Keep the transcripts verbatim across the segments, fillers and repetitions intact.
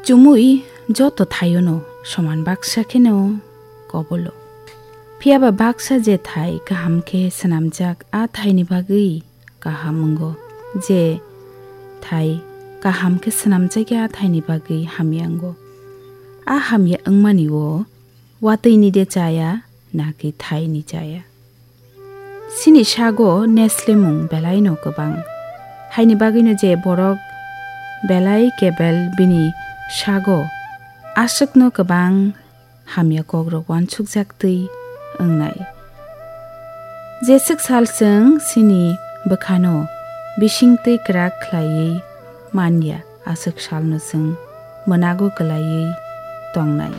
Chumui joto thaiono soman baksa kheno kobolo. Phiya ba baksa je thai kaham khe swnamjak, a thaini bagwi kaham wngo. Je thai kaham khe swnamjak ya, a thaini bagwi hamya wngo. A hamya wngmani o watwi ni de chaya, naki thai ni chaya. Chini sago neslemung belai no kwbang. Haini bagwi no je borok belai kebel bini sago aswk no kwbang hamya kokrok uansukjak twi wngnai. Jeswk sal chwng chini bwkhano bisingtwi kwrak khlaiwi manya, aswk salno chwng mwnago kwlaiwi tongnai.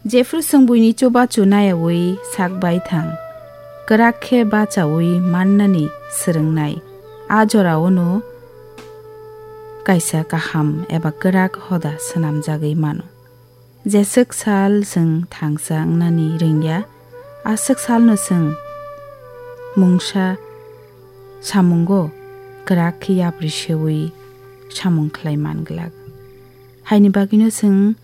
Jephru chwng buini chubachu nayaui sak baithang, kwrak khe bachaui mannani swrwngnai, a jorao no kaisa kaham eba kwrak hoda swnamjagwi mano. Jeswk sal chwng thangsa wngnani rwngya, aswk salno chwng mungsa samungo kwrak khe yapri seui samung khlai man glak. Haini bagwino chwng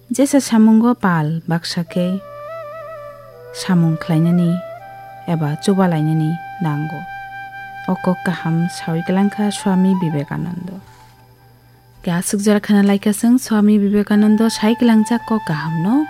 jesa samungo pal baksa khe samung khlainani eba chubalainani nango. O kok kaham saui kwlangkha Swami Vivekananda. Khe aswk jora khana laikha chwng Swami Vivekananda sai kwlangjak kok kahamno.